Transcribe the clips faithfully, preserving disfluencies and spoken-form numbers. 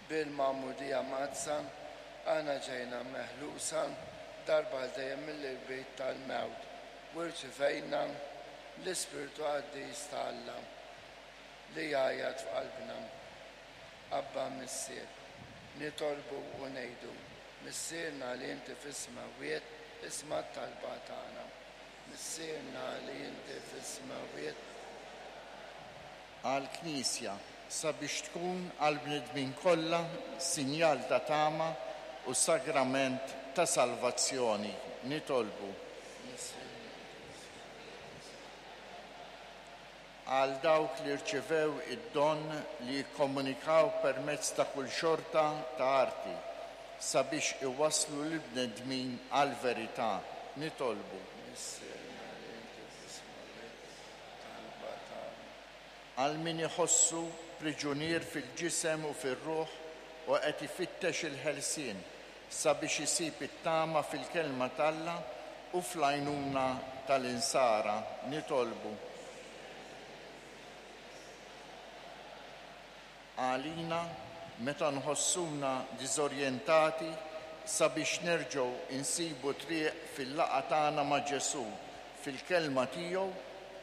Bil-Magħmudija Mqaddsa aħna ġejna meħlusa darba għal dejjem mill-irbit tal-mewt u rċivejna l-Ispirtu Qaddis ta' Alla li jgħajjat f'qalbna. Abba Missier. Nitolbu u ngħidu, Missierna li inti fis-smewwiet, isma' t-talba tagħna. Missierna li inti fis-smewwiet. Għall-Knisja, sabiex tkun għall-bnedmin kollha sinjal ta' tama u sagrament ta' salvazzjoni. Nitolbu. Għal dawk li rċivew id-don li jikkomunikaw permezz ta' kull xorta ta' arti sabiex iwasslu lill-bnedmin għall-verità. Nitolbu. Missierna li inti fis-smewwiet, talba tagħna. Għal min iħossu priġunier fil-ġisem u fir-ruħ u qed ifittex il-ħelsien sabiex isib it-tama fil-kelma t'Alla u fl-għajnuna tal-insara. Nitolbu. Għalina, meta nħossuna diżorjentati, sabiex nerġgħu insibu triq fil-laqgħa tagħna ma' Ġesù, fil-kelma tiegħu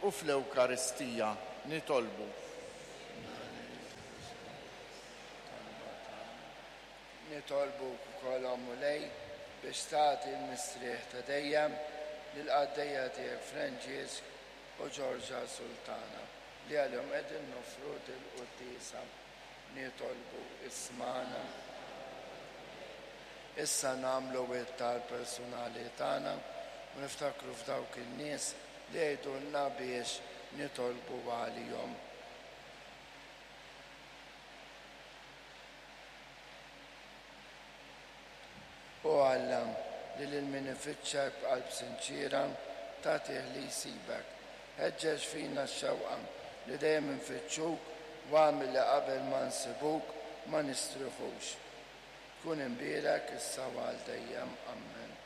u fl-Ewkaristija. Nitolbu. Nitolbuk ukoll, o Mulej, biex tagħti l-mistrieħ ta' dejjem lill-qaddejja tiegħek Franġisk u Ġorġa Sultana, li għalihom qegħdin noffru dil-quddiesa. Nitolbu, ismagħna. Issa nagħmlu it-talb personali tagħna u niftakru f'dawk in-nies li jgħidulna biex nitolbu għalihom. O Alla, li lil min ifittxek b'qalb sinċiera tagħtih li jsibek, ħeġġeġ fina x-xewqa li dejjem infittxuk u agħmel li qabel ma nsibuk ma nistrieħux. Kun imbierek issa u għal dejjem. Amen.